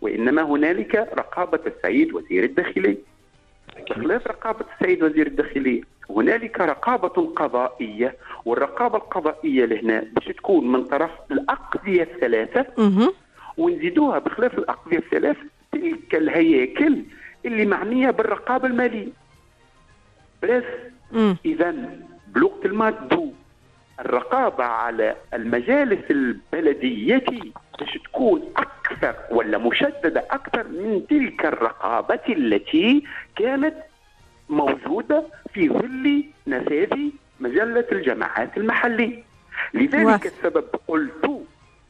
وإنما هنالك رقابة السيد وزير الداخلية. بخلاف رقابة السيد وزير الداخلية هنالك رقابة قضائية، والرقابة القضائية لهنا باش تكون من طرف الأقضية الثلاثة، ونزيدوها بخلاف الأقضية الثلاثة تلك الهياكل اللي معنية بالرقابة المالية. بس إذا بلغة المادو الرقابة على المجالس البلدية باش تكون أكثر ولا مشددة أكثر من تلك الرقابة التي كانت موجودة في ظل نفاذ مجلة الجماعات المحلية. لذلك السبب قلت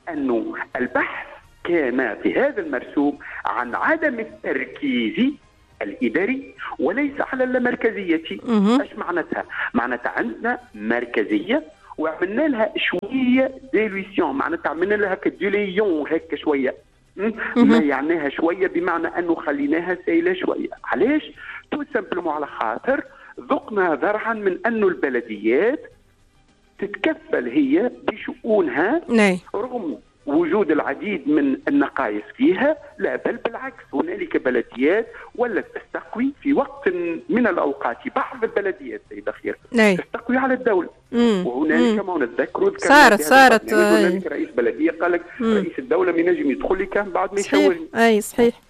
أن البحث كان في هذا المرسوم عن عدم التركيز الإداري وليس على اللامركزية. ايش معناتها؟ معناتها عندنا مركزية وعملنا لها شوية dilution، معناتها عملنا لها ك dilution هكا شوية، ما يعناها شوية بمعنى انه خليناها سايله شوية. علاش؟ tout simplement على خاطر ذقنا ذرعا من انه البلديات تتكفل هي بشؤونها رغم وجود العديد من النقائص فيها، لا بل بالعكس هنالك بلديات ولا تستقوي في وقت من الاوقات، بعض البلديات سيدة خير تستقوي على الدولة. وهنالك ما نتذكروا صارت هنالك رئيس بلديه قال لك رئيس الدولة ما ينجم يدخل لي كان بعد ما يشاورني. اي صحيح.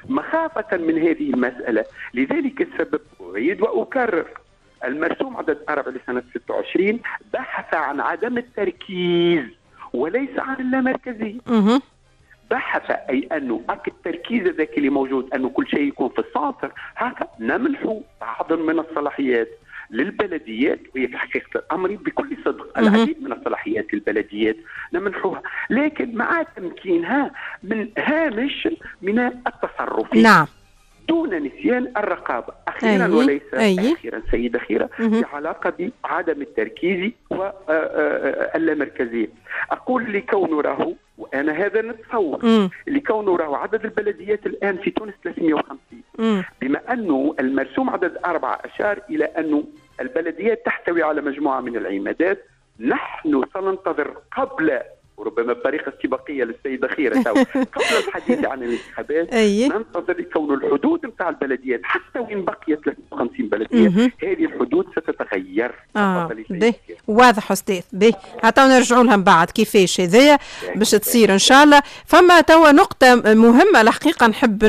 مخافة من هذه المسالة، لذلك السبب اعيد واكرر المرسوم عدد 4 لسنه 26 بحث عن عدم التركيز وليس عن اللامركزية. بحث أي أنه التركيز ذاك اللي موجود أنه كل شيء يكون في ال centre، هكا نمنح بعض من الصلاحيات للبلديات، وهي في حقيقة الأمر بكل صدق العديد من الصلاحيات للبلديات نمنحوها، لكن مع تمكينها من هامش من التصرف. نعم. دون نسيان الرقابة. أخيرا وليس أخيرا سيدة خيرة، في علاقة بعدم التركيز واللامركزية، أقول لكون راهو، وأنا هذا نتصور، لكون راهو عدد البلديات الآن في تونس 350، بما أنه المرسوم عدد 4 أشار إلى أنه البلديات تحتوي على مجموعة من العمادات، نحن سننتظر قبل، وربما بطريقة استباقية للسيدة خيرة قبل الحديث عن الانتخابات ننتظر كون الحدود نتاع البلديات حتى وين بقيت 53 بلديه هذه الحدود ستتغير. واضح استاذ. باهي حتى نرجعوا لها من بعد كيفاش هذايا باش تصير ان شاء الله. فما توا نقطة مهمة الحقيقة نحب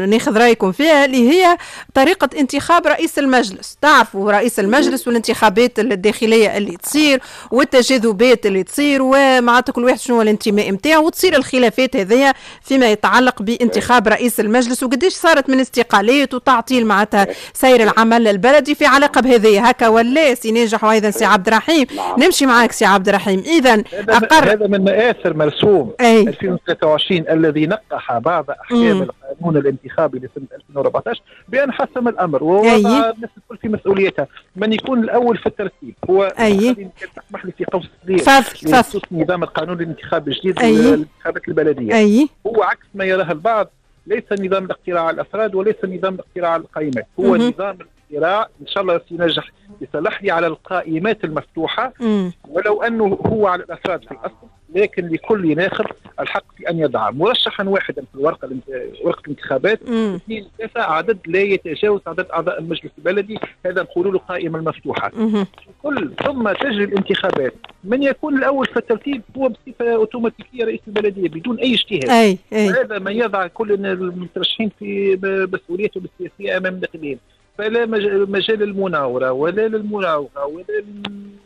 ناخذ رايكم فيها اللي هي طريقه انتخاب رئيس المجلس. تعرفوا رئيس المجلس والانتخابات الداخلية اللي تصير والتجاذبات اللي تصير ومعناتها كل واحد شنو الانتماء نتاعو وتصير الخلافات هذيا فيما يتعلق بانتخاب رئيس المجلس، وقديش صارت من استقالات وتعطيل معناتها سير العمل البلدي في علاقة بهذه هكا ولا سي ناجح وايضا سي عبد الرحيم. نمشي معاك سي عبد الرحيم. اذا هذا من مآثر مرسوم 2023 الذي نقح بعض احكام القانون الانتخابي لسنه 2014 بان حسم الامر ووضع الناس الكل في مسؤوليتها. من يكون الاول في الترتيب هو تسمح لي في قوس صغير بخصوص نظام القانون الانتخابي الجديد للانتخابات البلدية. هو عكس ما يراه البعض، ليس نظام الاقتراع على الافراد وليس نظام الاقتراع على القائمات، هو نظام الاقتراع ان شاء الله سينجح يصلح لي على القائمات المفتوحة، ولو انه هو على الافراد في الاصل، لكن لكل ناخب الحق في ان يضع مرشحا واحدا في الورقة ورقة الانتخابات، 2 3 عدد لا يتجاوز عدد اعضاء المجلس البلدي، هذا نقول له القائمة المفتوحة. كل ثم تجري الانتخابات، من يكون الاول في الترتيب هو بصفة اوتوماتيكيه رئيس البلدية بدون اي اجتهاد. هذا ما يضع كل المترشحين في مسؤوليتهم السياسية امام الناخبين، فلا مجال للمناوره ولا للمراوغه ولا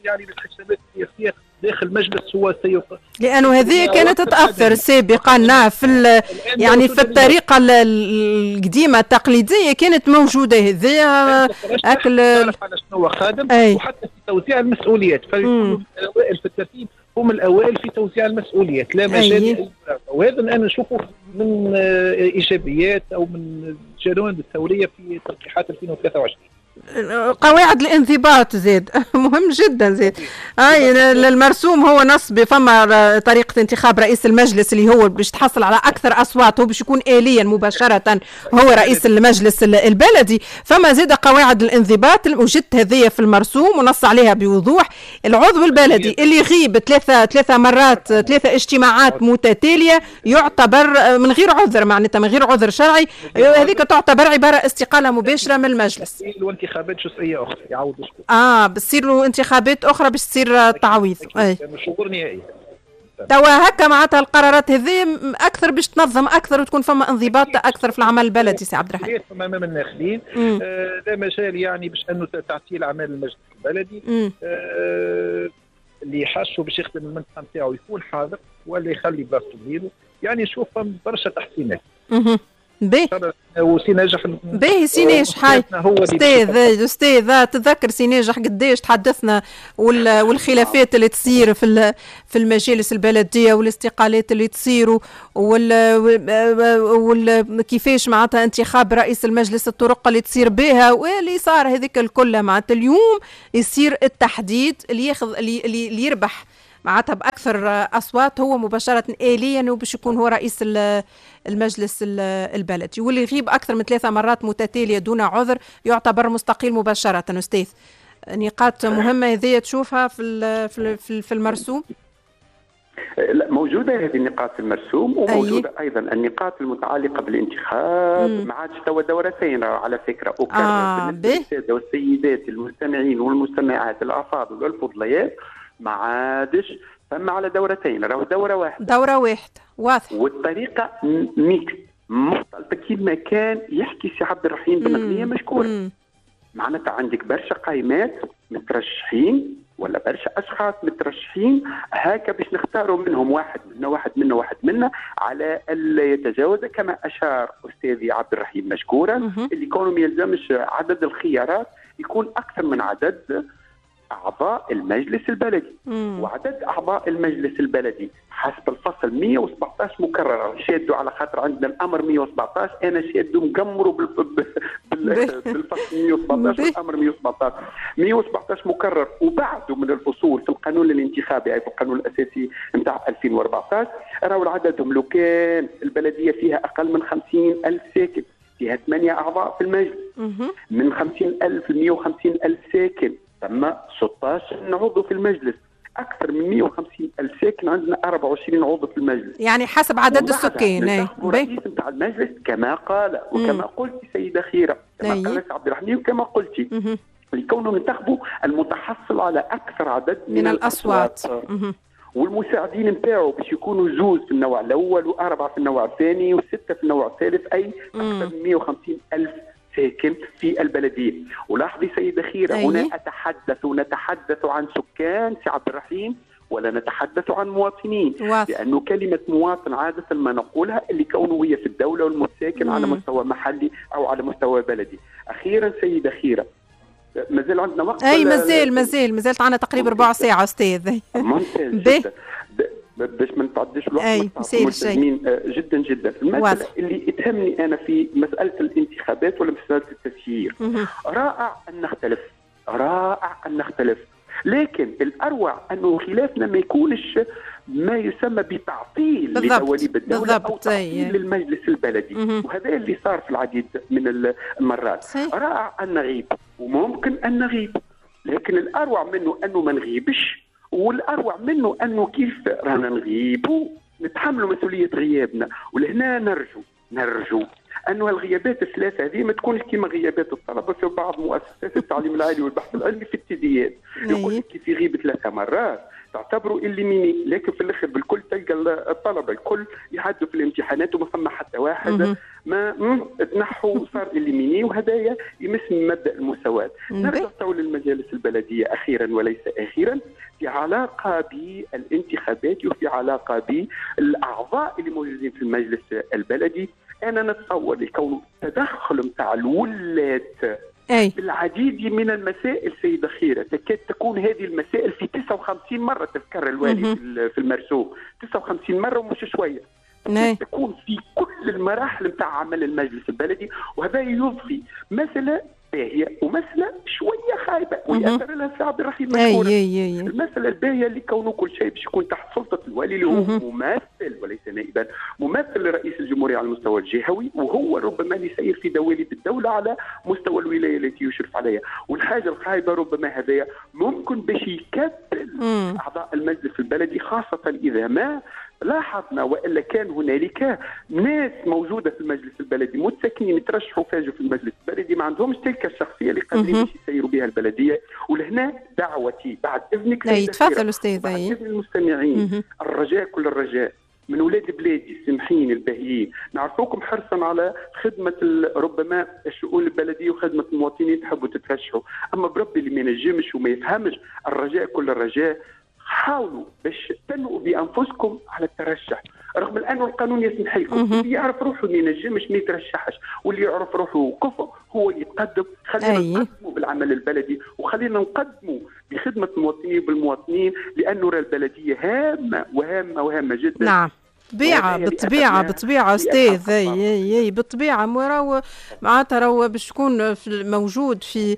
يعني للحسابات السياسية داخل المجلس. هو سيق لانه هذه كانت تتاثر سابقا في يعني في الطريقة القديمة التقليدية كانت موجودة هذه اكل على شنو خادم. وحتى في توزيع المسؤوليات فالاوائل في الترتيب هم الاوائل في توزيع المسؤوليات، لا مجال. وهذا انا نشوفه من ايجابيات او من الجوانب الثورية في تلقيحات 2023. قواعد الانضباط زاد مهم جدا زاد. اي المرسوم هو نص فما طريقه انتخاب رئيس المجلس اللي هو باش تحصل على اكثر اصوات، هو باش يكون اليا مباشرة هو رئيس المجلس البلدي. فما زاد قواعد الانضباط وجدت هذه في المرسوم ونص عليها بوضوح. العضو البلدي اللي يغيب ثلاثة مرات، 3 اجتماعات متتالية، يعتبر من غير عذر، معناتها من غير عذر شرعي، هذيك تعتبر عبارة استقالة مباشرة من المجلس. وانتخابات جزئية اخرى يعوض شكون؟ بتصير له انتخابات اخرى باش تصير تعويض. اي شهور نهائية. توا هكا معناتها القرارات هذه اكثر باش تنظم اكثر وتكون فما انضباط اكثر في العمل البلدي. سي عبد الرحيم امام الناخبين لا مجال يعني باش انه تعطيل اعمال المجلس البلدي. اللي حاشو باش يخدم المنطقة نتاعو يكون حاضر ولا يخلي بلاصته غيره، يعني نشوف برشا تحسينات. باهي وسي ناجح. باهي سي ناجح، هاي استاذ تذكر سي ناجح قداش تحدثنا والخلافات اللي تصير في المجالس البلدية والاستقالات اللي تصير كيفاش معناتها انتخاب رئيس المجلس، الطرق اللي تصير بها واللي صار هذيك الكل. معناتها اليوم يصير التحديد اللي ياخذ اللي يربح معناتها بأكثر أصوات هو مباشرة آليا وباش يكون هو رئيس المجلس البلدي، واللي يغيب أكثر من 3 مرات متتالية دون عذر يعتبر مستقيل مباشرة. أستاذ، نقاط مهمة هذه تشوفها في المرسوم؟ لا، موجودة هذه النقاط في المرسوم، وموجودة أيضا النقاط المتعلقة بالانتخاب. ما عادش توا دورتين على فكرة. أكرر بالنسبة للسادة والسيدات المستمعين والمستمعات الأفاضل والفضليات، ما عادش فما على دورتين، راهو دورة واحدة. دورة واحدة، واضح. والطريقة mixte مختلطة كيما كان يحكي سي عبد الرحيم بن غنية مشكور. معناتها عندك برشا قائمات مترشحين ولا برشا اشخاص مترشحين، هكا باش نختاروا منهم واحد منا واحد منا واحد منا، على الا يتجاوز كما اشار استاذي عبد الرحيم مشكورا، اللي كونه ما يلزمش عدد الخيارات يكون اكثر من عدد أعضاء المجلس البلدي. وعدد أعضاء المجلس البلدي حسب الفصل 117 مكرر، شادوا على خاطر عندنا الأمر 117، أنا شادو مقمروا بالفصل 117 والأمر 117. 117 مكرر وبعده من الفصول في القانون الانتخابي، أي في القانون الأساسي نتاع 2014، راهو عددهم لو كان البلدية فيها أقل من 50,000 ساكن فيها 8 أعضاء في المجلس. من 50,000 ل 150,000 ساكن ثم 16 عضو في المجلس. أكثر من 150,000 ساكن عندنا 24 عضو في المجلس، يعني حسب عدد السكان. الرئيس نتاع المجلس كما قال وكما قلت سيدة خيرة، كما قال عبد الرحمن وكما قلتي، لكونه ننتخبوا المتحصل على أكثر عدد من الأصوات. والمساعدين نتاعو باش يكونوا 2 في النوع الأول و4 في النوع الثاني و6 في النوع الثالث، أي أكثر من 150,000 ساكن في البلدية. ولاحظي سيدة خيرة، هنا أتحدث ونتحدث عن سكان سي عبد الرحيم ولا نتحدث عن مواطنين، لأنه كلمة مواطن عادة ما نقولها اللي كونه هي في الدولة والمساكن على مستوى محلي أو على مستوى بلدي. أخيرا سيدة خيرة، مازال عندنا وقت؟ أي مازال عندنا تقريبا ربع ساعة أستاذ. ممتاز جدا، باش ما نتعديش الوقت ملتزمين جدا جدا. المسألة اللي تهمني أنا في مسألة الانتخابات ولا مسألة التسيير، رائع أن نختلف، رائع أن نختلف، لكن الأروع أنه خلافنا ما يكونش ما يسمى بتعطيل لدواليب الدولة أو تعطيل للمجلس البلدي. وهذا اللي صار في العديد من المرات. رائع أن نغيب وممكن أن نغيب، لكن الأروع منه أنه ما نغيبش، والأروع منه أنه كيف رانا نغيبوا نتحملوا مسؤولية غيابنا. ولهنا نرجو أنه الغيابات الثلاثة هذه ما تكونش كما غيابات الطلبة في بعض مؤسسات التعليم العالي والبحث العلمي في التديات، يقول لك كيف يغيب 3 مرات تعتبروا éliminé، لكن في الاخر بالكل تلقى الطلبة الكل يعدوا في الامتحانات وما فما حتى واحد ما تنحوا صار éliminé، وهذايا يمس من مبدا المساواة. نرجع تو للمجالس البلدية اخيرا وليس اخيرا، في علاقة بالانتخابات وفي علاقة بالاعضاء اللي موجودين في المجلس البلدي. انا نتصور لكون التدخل نتاع الولاة بالعديد من المسائل سيدة خيرة، تكاد تكون هذه المسائل في 59 مرة تذكر الوالي في المرسوم، 59 مرة ومش شوية، تكون في كل المراحل نتاع عمل المجلس البلدي. وهذا يضفي مسألة باهيه ومسالة شوية خايبة ويأثر لها السي عبد الرحيم مشكورا. المسالة الباهيه اللي كونه كل شيء باش يكون تحت سلطة الوالي اللي هو ممثل وليس نائبا، ممثل لرئيس الجمهورية على المستوى الجهوي، وهو ربما اللي يسير في دواليب الدولة على مستوى الولاية التي يشرف عليها. والحاجة الخايبة ربما هذايا ممكن باش يكتل اعضاء المجلس البلدي، خاصة اذا ما لاحظنا والا كان هنالك ناس موجودة في المجلس البلدي متساكنين يترشحوا فاجوا في المجلس البلدي ما عندهمش تلك الشخصية اللي قادرين باش يسيروا بها البلدية. ولهنا دعوتي بعد اذنك، تفضل استاذ، بعد اذن المستمعين، الرجاء كل الرجاء من ولاد بلادي السمحين الباهيين، نعرفوكم حرصا على خدمة ربما الشؤون البلدية وخدمه المواطنين، تحبوا تترشحوا، اما بربي اللي ما ينجمش وما يفهمش، الرجاء كل الرجاء حاولوا باش تنووا بانفسكم على الترشح، رغم انه القانون يسمح لكم. اللي يعرف روحه ما ينجمش ما يترشحش، واللي يعرف روحه كفء هو اللي يتقدم. خلينا نقدموا بالعمل البلدي، وخلينا نقدموا بخدمة المواطنين بالمواطنين، لانه البلدية هامة وهامه وهامه جدا. نعم، بالطبيعة بالطبيعة بالطبيعة استاذ، اي بالطبيعة راهو معناتها راهو باش تكون موجود في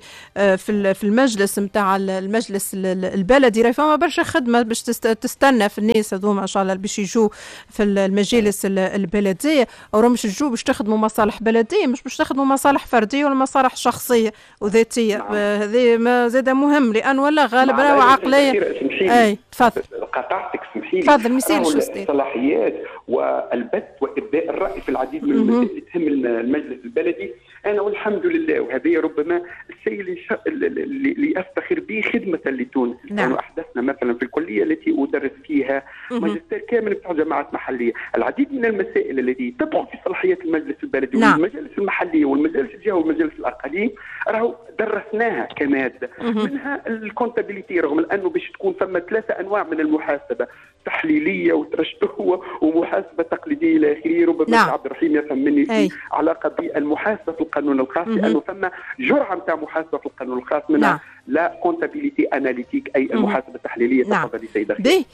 في المجلس نتاع المجلس البلدي، راهي فما برشا خدمة باش تستنى في الناس هذوما ان شاء الله باش يجوا في المجالس البلدية، او مش يجوا باش تخدموا مصالح بلديه، مش باش تخدموا مصالح فردية ولا مصالح شخصية وذاتيه. هذا ما زاد مهم، لان ولا غالب راهو عقلية. اي تفضل، قطعتك سمحي لي. تفضل، ما يصيرش استاذ. الصلاحيات والبث وابداء الراي في العديد من المسائل اللي تهم المجلس البلدي، انا والحمد لله، وهذه ربما الشيء اللي افتخر به خدمة لتونس. نعم. احدثنا مثلا في الكلية التي ادرس فيها ماجستير كامل بتاع جامعات محليه، العديد من المسائل التي تدخل في صلاحيات المجلس البلدي. نعم. والمجالس المحلية والمجالس الجهوية والمجالس الاقاليم راهو درسناها كمادة، منها ال comptabilité، رغم انه باش تكون فما 3 انواع من المحاسبة، تحليلية وترشدوه ومحاسبه تقليدية الى اخره. ربما نعم. عبد الرحيم يفهم مني في علاقة بالمحاسبه في القانون الخاص، لانه ثم جرعة نتاع محاسبه في القانون الخاص منها la comptabilité analytique، اي المحاسبة التحليلية. نعم. تفضلي سيده. به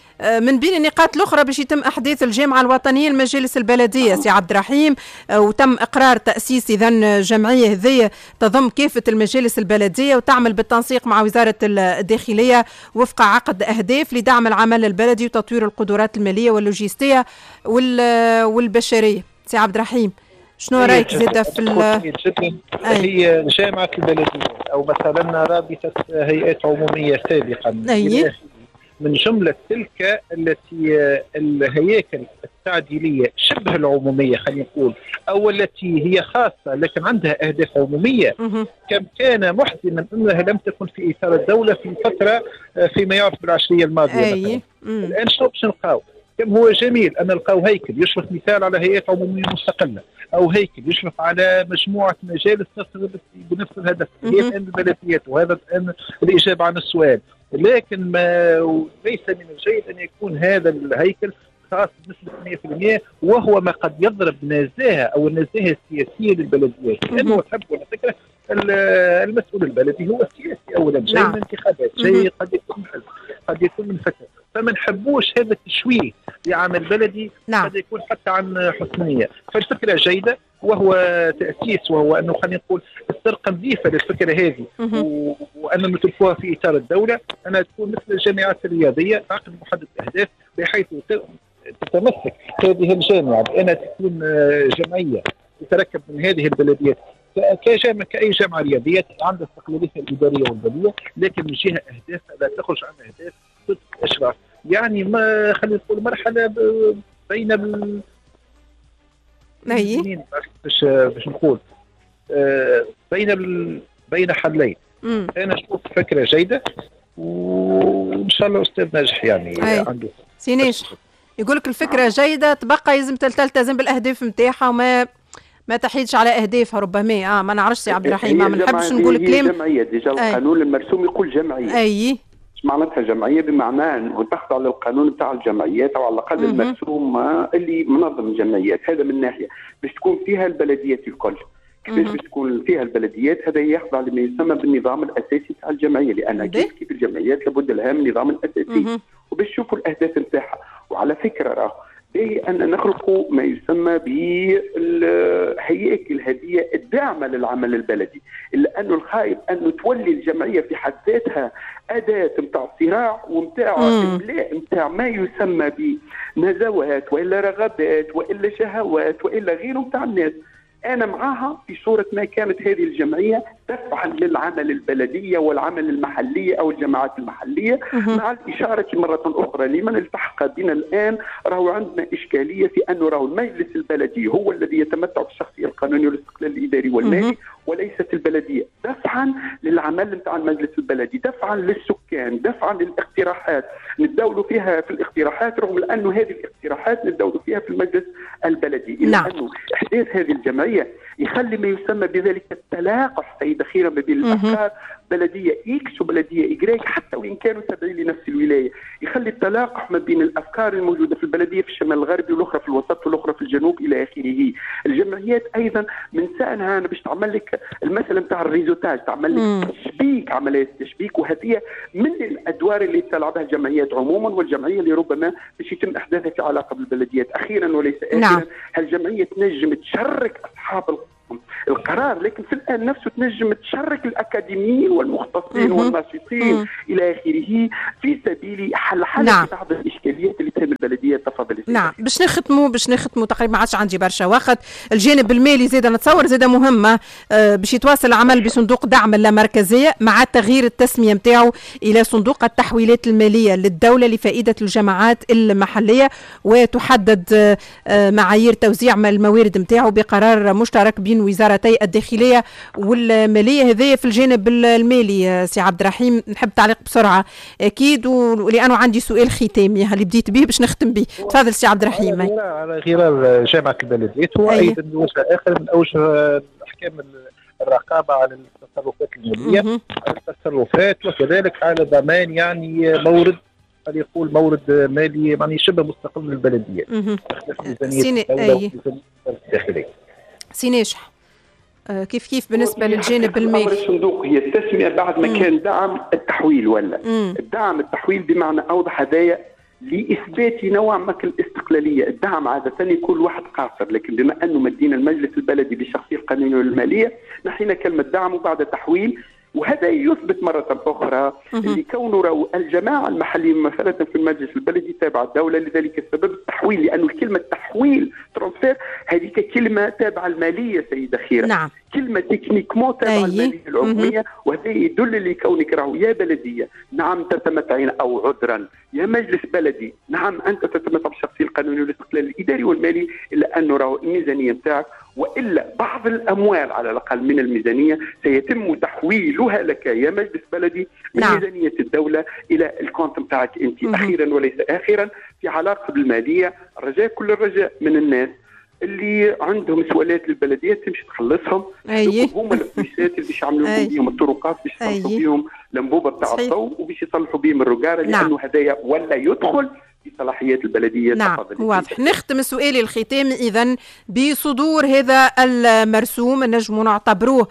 من بين النقاط الاخرى باش يتم احداث الجامعة الوطنية للمجالس البلدية. سي عبد الرحيم، وتم اقرار تاسيس اذا جمعية هذه تضم كافة المجالس البلدية وتعمل بالتنسيق مع وزارة الداخلية وفق عقد اهداف لدعم العمل البلدي وتطوير القدرات المالية واللوجستيه والبشريه. سي عبد الرحيم، شنو رايك زاده في هي جامعه البلدية او مثلا رابطه هيئات عموميه سابقا؟ من جملة تلك التي الهياكل التعديليه شبه العمومية خلينا نقول، او التي هي خاصة لكن عندها اهداف عموميه، كم كان محزنا انها لم تكن في اطار الدولة في فترة فيما يعرف بالعشريه الماضية. مثلا الان شنو باش نلقاو؟ كم هو جميل ان نلقاو هيكل يشرف مثال على هيئات عموميه مستقلة، او هيكل يشرف على مجموعة مجالس بنفس الهدف، هي الان البلديات، وهذا الان الاجابة عن السؤال. لكن ما ليس من الجيد ان يكون هذا الهيكل خاص بنسبة 100%، وهو ما قد يضرب نزاهة او النزاهة السياسية للبلديات، لانه تحب ولا تكره المسؤول البلدي هو السياسي اولا، جاي من انتخابات، جاي قد يكون من حزب، قد يكون من فترة، فما نحبوش هذا التشويه لعمل بلدي. نعم. قد يكون حتى عن حسن نيه. فالفكرة جيدة، وهو تاسيس، وهو انه خلينا نقول السرقة نظيفة للفكرة هذه، وان نتركوها في اطار الدولة، انها تكون مثل الجامعات الرياضية، عقد محدد الاهداف، بحيث تتمسك هذه الجامعة بانها تكون جمعية تتركب من هذه البلديات كجامعه، كاي جامعه رياضية عندها استقلاليتها الادارية والمالية، لكن من جهة اهدافها لا تخرج عن اهداف ضد الاشراف. يعني ما خلينا نقول مرحلة بين باش نقول بين حلين. انا اشوف فكرة جيدة، وان شاء الله استاذ ناجح يعني عنده سي ناجح يقول لك الفكرة جيدة، تبقى لازم تلتزم بالاهداف نتاعها وما ما تحيدش على اهدافها ربما. ما نعرفش سي عبد الرحيم، ما نحبش نقول كلام. جمعية déjà القانون المرسوم يقول جمعية. اي معناتها جمعية بمعنى انه تخضع للقانون بتاع الجمعيات، او على الاقل المرسوم اللي منظم الجمعيات. هذا من ناحية باش تكون فيها البلديات الكل. كيفاش باش تكون فيها البلديات؟ هذا يخضع لما يسمى بالنظام الاساسي تاع الجمعية، لان كيف الجمعيات لابد لها من نظام اساسي، وباش تشوفوا الاهداف نتاعها. وعلى فكرة راه باهي أن نخلق ما يسمى بالهياكل هذه الداعمة للعمل البلدي، إلا أنه الخايب أنه تولي الجمعية في حد ذاتها أداة متاع صراع ومتاع إملاء متاع ما يسمى بنزوات وإلا رغبات وإلا شهوات وإلا غيره متاع الناس. أنا معاها في صورة ما كانت هذه الجمعية دفعا للعمل البلدية والعمل المحلية أو الجماعات المحلية، مع الإشارة مرة أخرى لمن التحق بنا الآن راهو عندنا إشكالية في أنه راهو المجلس البلدي هو الذي يتمتع بالشخصية القانونية والاستقلال الإداري والمالي وليست البلدية. دفعا للعمل نتاع المجلس البلدي، دفعا للسكان، دفعا للاقتراحات نتداولوا فيها في الاقتراحات، رغم أنه هذه الاقتراحات نتداولوا فيها في المجلس البلدي. إلا أنه إحداث هذه الجمعية يخلي ما يسمى بذلك التلاقح سيدة خيرة ما بين الأفكار، بلدية X وبلدية Y حتى وإن كانوا تابعين لنفس الولاية، يخلي التلاقح ما بين الأفكار الموجودة في البلدية في الشمال الغربي والأخرى في الوسط والأخرى في الجنوب إلى آخره. الجمعيات أيضا من شأنها أنا باش تعمل لك المسألة نتاع ال réseautage، تعمل لك تشبيك، عملية التشبيك، وهذه من الأدوار اللي تلعبها الجمعيات عموما، والجمعية اللي ربما باش يتم إحداثها في علاقة بالبلديات. أخيرا وليس آخرا، هالجمعية تنجم تشرك أصحاب القرار، لكن في الآن نفسه تنجم تشرك الأكاديميين والمختصين والناشطين إلى آخره في سبيل حل بعض الإشكاليات اللي تهم البلدية. تفضل. نعم، باش نختموا تقريبا ما عادش عندي برشا وقت. الجانب المالي زاد نتصور زاد مهمة، باش يتواصل العمل بصندوق دعم اللامركزية مع تغيير التسمية نتاعو إلى صندوق التحويلات المالية للدولة لفائدة الجماعات المحلية، وتحدد معايير توزيع الموارد نتاعو بقرار مشترك بين وزارتي الداخلية والمالية. هذايا في الجانب المالي. سي عبد الرحيم نحب تعليق بسرعة أكيد، ولأنه عندي سؤال ختامي اللي بديت به باش نختم به. تفضل سي عبد الرحيم. على غرار جامعة البلديات هو أيضا وجه آخر من أوجه أحكام الرقابة على التصرفات المالية، على التصرفات، وكذلك على ضمان يعني مورد، قد يقول مورد مالي يعني شبه مستقل للبلدية. الداخلية. سي ناجح، كيف بالنسبة للجانب المالي؟ الصندوق هي التسمية بعد ما كان دعم التحويل ولا الدعم التحويل بمعنى أوضح هذايا لإثبات نوع ما الاستقلالية. الدعم عادة يكون واحد قاصر، لكن بما أنه مدينا المجلس البلدي بالشخصية القانونية والمالية نحينا كلمة دعم وبعد تحويل، وهذا يثبت مرة أخرى اللي كونه الجماعة المحلية مثلا في المجلس البلدي تابعة الدولة، لذلك السبب التحويل، لأنه الكلمة تحويل transfert هذيك كلمة تابعة المالية سيدة خيرة. نعم. كلمة techniquement تابعة المالية العمومية، وهذا يدل لكونك راهو يا بلدية نعم تتمتعين، أو عذرا يا مجلس بلدي نعم أنت تتمتع بالشخصية القانونية والاستقلال الإداري والمالي، إلا أنه راهو الميزانية نتاعك وإلا بعض الأموال على الأقل من الميزانية سيتم تحويلها لك يا مجلس بلدي من ميزانية الدولة إلى ال compte نتاعك أنت. أخيرا وليس آخرا، في علاقة بالمالية، الرجاء كل الرجاء من الناس اللي عندهم سؤالات للبلديات تمشي تخلصهم. هما الفلوسات اللي باش يعملوا بهم الطرقات، باش يصلحوا بهم الانبوبة بتاع الضوء، وباش يصلحوا بهم الرجاره، لانه هذايا ولا يدخل في صلاحيات البلدية. نعم واضح. نختم سؤالي الختامي اذا بصدور هذا المرسوم نجم نعتبروه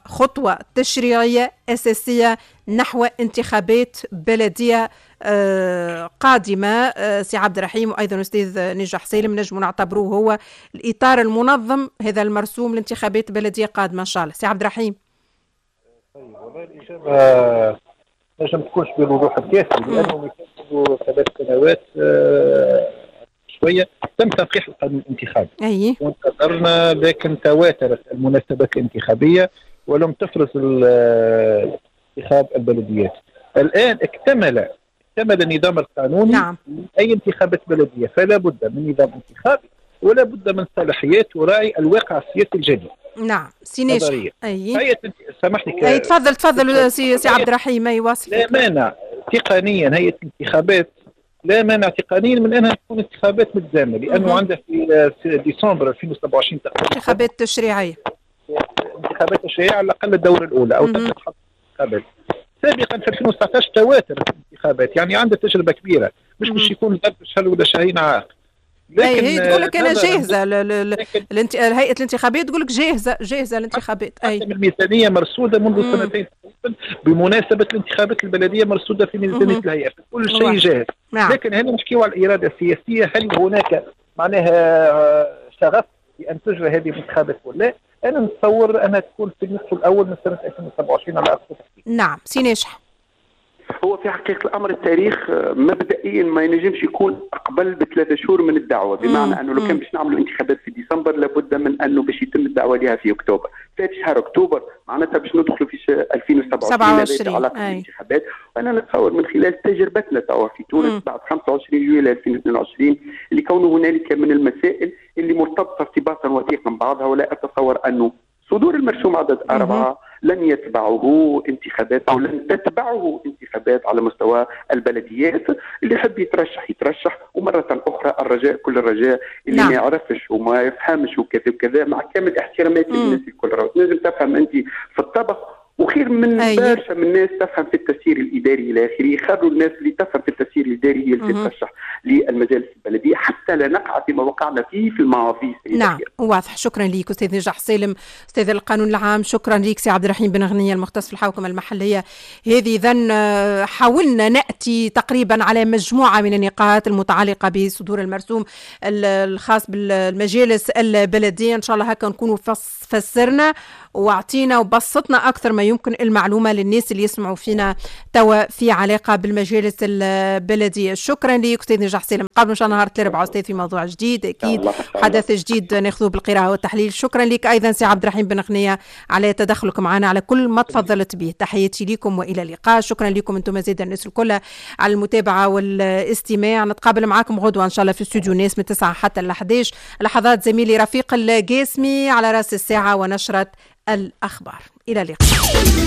خطوة تشريعية اساسية نحو انتخابات بلديه قادمة. سي عبد الرحيم وأيضا أستاذ نجاح سالم، نجم نعتبروه هو الإطار المنظم هذا المرسوم لانتخابات بلدية قادمة إن شاء الله. سي عبد الرحيم. طيب والله الإجابة نجم تكونش بالوضوح الكافي، لأنه منذ 3 سنوات شوية تم تنقيح القانون الانتخابي. وانتظرنا، لكن تواترت المناسبات الانتخابية ولم تفرز انتخاب البلديات. الآن اكتمل النظام القانوني. نعم. أي انتخابات بلدية، فلا بد من نظام انتخابي ولا بد من صلاحيات تراعي الواقع السياسي الجديد. نعم سي ناجح. أي سامحني. أي تفضل سي عبد الرحيم. أي واصل. لا مانع تقنيا هيئة الانتخابات، لا مانع تقنيا من أنها تكون انتخابات متزامنة، لأنه عندها في ديسمبر 2027 تقريبا انتخابات تشريعية. انتخابات تشريعية على الأقل الدورة الأولى أو تبدأ انتخابات. سابقا في 2019 تواترت الانتخابات، يعني عندها تجربه كبيرة، مش باش يكون ظرف شهر ولا شهرين عائق. لكن هي تقول لك انا جاهزة، الهيئة الانتخابية تقول لك جاهزة، جاهزة الانتخابات. اي الميزانية مرصوده منذ سنتين بمناسبة الانتخابات البلدية، مرصوده في ميزانية الهيئة، كل شيء جاهز. لكن هنا نحكيو على الارادة السياسية، هل هناك معناها شغف بان تجرى هذه الانتخابات ولا؟ انا نتصور انها تكون في النصف الاول من سنة 2027 على اقصى تقدير. نعم سي ناجح. هو في حقيقة الأمر التاريخ مبدئيا ما ينجمش يكون أقبل ب3 شهور من الدعوة، بمعنى أنه لو كان باش نعملوا انتخابات في ديسمبر لابد من أنه باش يتم الدعوة لها في أكتوبر. فات شهر أكتوبر معناتها باش ندخلوا في 2027 علاقة الانتخابات. وأنا نتصور من خلال تجربتنا توا في تونس بعد 25 جويلية 2022، اللي كونه هنالك من المسائل اللي مرتبطة ارتباطا وثيقا بعضها، ولا أتصور أنه صدور المرسوم عدد 4 لن يتبعه انتخابات أو لن تتبعه انتخابات على مستوى البلديات. اللي يحب يترشح يترشح. ومرة أخرى الرجاء كل الرجاء اللي ما يعرفش وما يفهمش وكذا وكذا، مع كامل احتراماتي للناس الكل، تنجم تفهم أنت في الطبخ وخير من برشا من الناس تفهم في التسيير الاداري الى اخره. خلوا الناس اللي تفهم في التسيير الاداري هي اللي تترشح للمجالس البلدية حتى لا نقع فيما وقعنا فيه في الماضي. نعم واضح. شكرا لك استاذ نجاح سالم، استاذ القانون العام. شكرا لك سي عبد الرحيم بن غنية، المختص في الحوكمة المحليه. هذه اذا حاولنا ناتي تقريبا على مجموعة من النقاط المتعلقة بصدور المرسوم الخاص بالمجالس البلديه. ان شاء الله هكا نكونوا فسرنا واعطينا وبسطنا اكثر ما يمكن المعلومة للناس اللي يسمعوا فينا توا في علاقة بالمجالس البلديه. شكرا لك استاذ نجاح سالم. نتقابلوا ان شاء الله نهار الاربعاء استاذ في موضوع جديد، اكيد حدث جديد ناخذه بالقراءة والتحليل. شكرا لك ايضا سي عبد الرحيم بن غنية على تدخلك معنا، على كل ما تفضلت به. تحياتي لكم والى اللقاء. شكرا لكم انتم زاد الناس الكل على المتابعة والاستماع. نتقابل معكم غدوه ان شاء الله في استوديو ناس من 9 حتى ل 11. لحظات زميلي رفيق القاسمي على راس الساعة ونشره الاخبار. الى اللقاء.